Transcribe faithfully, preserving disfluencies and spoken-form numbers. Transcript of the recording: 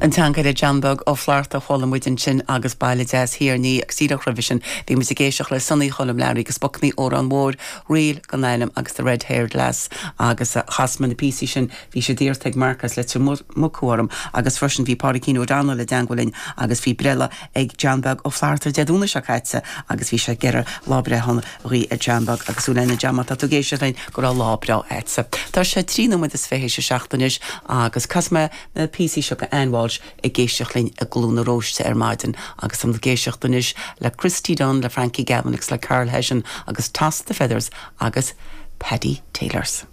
An seanchara John Beag Ó Flatharta chuala muid ansin agus baile deas thiar ní agus díreach roimhe sin bhí muid ag éisteacht le Sonny Choilm Learaí agus Bucnaí Órán Mhór Ríl gan ainm agus the Red Haired Lass agus chas mé na píosaí sin bhí sé iarrtha ag Marcas le mucuarm agus freisin bhí Pádraigín O'Donnell i dteagmháil linn agus bhí breithlá ag John Beag Ó Flatharta Dé Domhnaigh seo caite agus bhí sé geire lá breithe a ag John Beag agus lena jam tá tú ag éisteacht linn go raibh lá breá agatsa. Tá sé trí nóiméad is fiche a seacht anois agus casfaidh mé na píosaí seo go Ann Walsh ag éisteacht linn i gCluain na Róiste ar maidin agus an ag éisteacht anois le Christy Dunn le Frankie Gavin agus le Carl Hession agus Toss the Feathers agus Paddy Taylors.